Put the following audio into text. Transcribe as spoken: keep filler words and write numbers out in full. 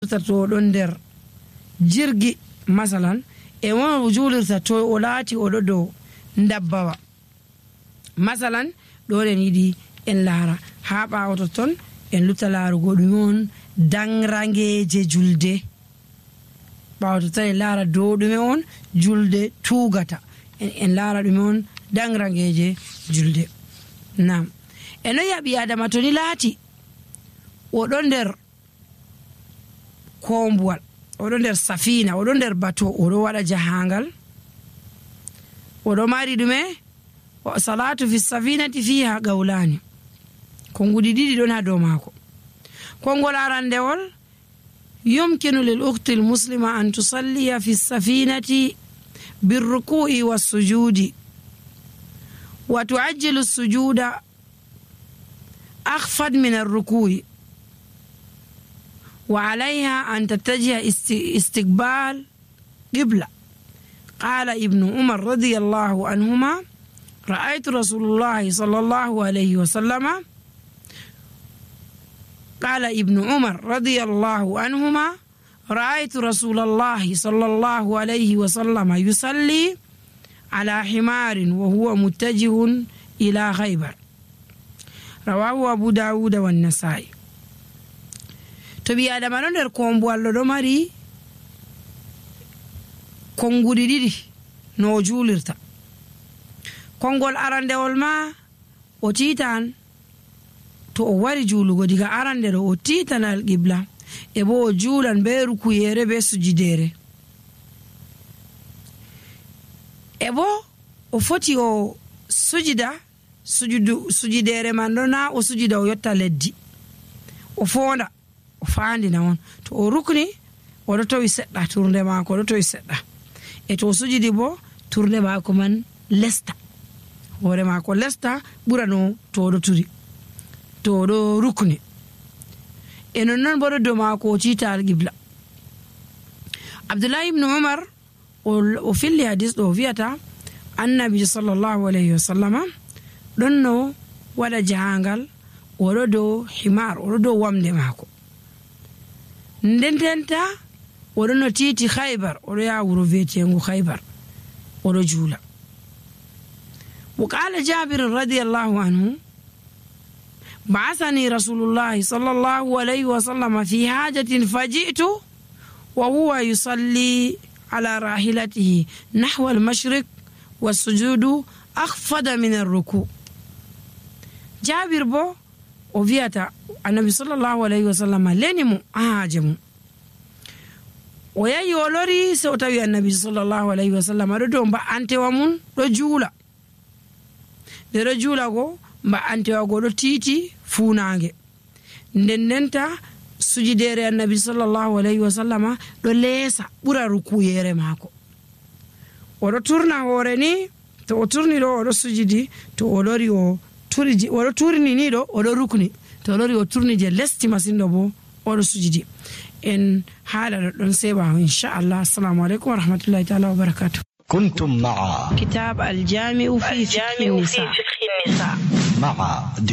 julirta to oɗon nder jirgi masalan e won o julirta to o laati oɗo dow dabbawa masalan ɗon en yiɗi en laara ha ɓawo ton en lutta laarugo ɗum on dangrangeje julde ɓawo ton en laara dow ɗume on julde tugata en, en laara ɗume on dangrangeje julde. Nam e no yaɓi adama to ni laati oɗo nder kombuwal oɗo nder safina oɗo nder bato oɗo waɗa jahangal oɗo mari ɗume salatu fi safinati fiha gawlani konguɗi ɗiɗi ɗon ha dow maako. kongol arandewol yumkinu lil ukhti al muslima an tusalliya fi safinati birruku'i wassujudi wa tu'ajjilu as-sujuda akhfad min ar-ruku'i wa 'alayha an tattajiha istiqbal qibla. qala ibnu umar radiyallahu anhuma ra'aytu rasulullah sallallahu alayhi wa sallama قال ابن عمر رضي الله عنهما رأيت رسول الله صلى الله عليه وسلم يصلي على حمار وهو متجه إلى خيبر رواه أبو داود والنسائي. تبي هذا ما نقدر كومبو الله دماري كونغودي دي نوجولرتا كونغول أرانده والما وتيتان to o wari julugo diga arande ɗo o titanal qibla e bo o juulan be rukuyere be sujidere e bo o foti o sujida sujudu sujidere man ɗo na o sujida o yotta leddi o fonda o fandina on to o rukni oɗo tawi seɗɗa turde maako oɗo tawi seɗɗa e to o sujidi bo turde maako man lesta hoore maako lesta ɓura no to oɗo turi to ɗo rukni e non noon boɗo dow maako o tiita alqibla. abdoullahi ibnu umar o filli hadis ɗo wiyata annabi sallllahu alayhi wa sallama ɗon no waɗa jahangal oɗo dow himar oɗo dow wamde maako ndententa oɗo no tiiti khaybar oɗo yaha wuro weetengu khaybar oɗo juula. wa qala jabir radiyallahu anhu بعثني رسول الله صلى الله عليه وسلم في حاجة فجئت وهو يصلي على راحلته نحو المشرق والسجود أخفض من الركوع. جابر بو وفيتا النبي صلى الله عليه وسلم لنمو أهاجمو ويا يولوري سوتاوي النبي صلى الله عليه وسلم ردوم با أنت ومن رجولا رجولا go mba antewago ɗo tiiti fuunange nden ndenta sujidere annabi sallallahu alayhi wa sallama ɗo leesa ɓura rukuyere maako oɗo turna hoore ni to o turni ɗo oɗo sujidi to o lori o turiji oɗo turni ni ɗo oɗo rukni to o lori o turni je lesti masin ɗo bo oɗo sujidi. en haala ɗo ɗon seɓa inchallah. assalamu aleykum wa rahmatullahi taala wa barakatuh. كنتم مع كتاب الجامع في فقه النساء مع